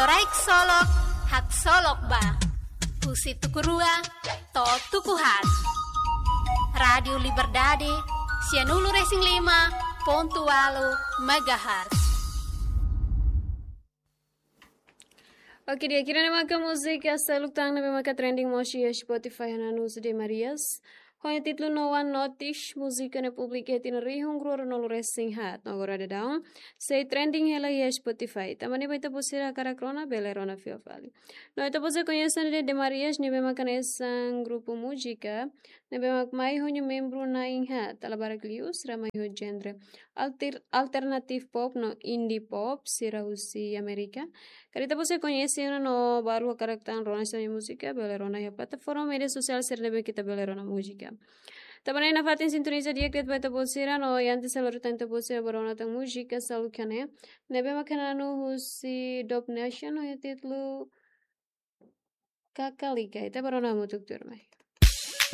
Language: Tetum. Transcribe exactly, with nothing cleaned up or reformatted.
Loraik Solok, Haksolok Ba. Husi tuku rua to'o tuku haat. Rádiu Liberdade, sianulu-resin-lima pontu ualu megahertz. Oke, di'ak, ida-ne'e maka múzika seluk tan ne'ebé maka trending mós iha Spotify, hanesan husi De Marias ho nia títulu No One Notice, múzika ne'e publika iha tinan rihun rua ruanulu-resin-haat. No agora daudaun sei trending hela iha Spotify. Tanba ne'e ba ita-boot sira hakarak rona, bele rona fila fali. No ita-boot sira koñese De Marias ne'ebé maka hanesan grupu múzika ne'ebé mak mai ho nia membru na'in haat, dala barak liu sira mai ho genre alter-, alternative pop no indie pop sira husi Amérika. Karik ita-boot sira koñese ona no balu hakarak tan rona sira-nia múzika, bele rona iha plataforma média sosiál sira ne'ebé ke ita bele rona múzika. Tanba ne'e nafatin sintoniza di'ak de'it ba ita-boot sira no antes halo rutan ita-boot sira ba rona tan múzika seluk hanesan ne'e, ne'ebé maka hanesan husi Dub Nation ho nia títulu Kakalika. Ita ba rona hamutuk tuirmai.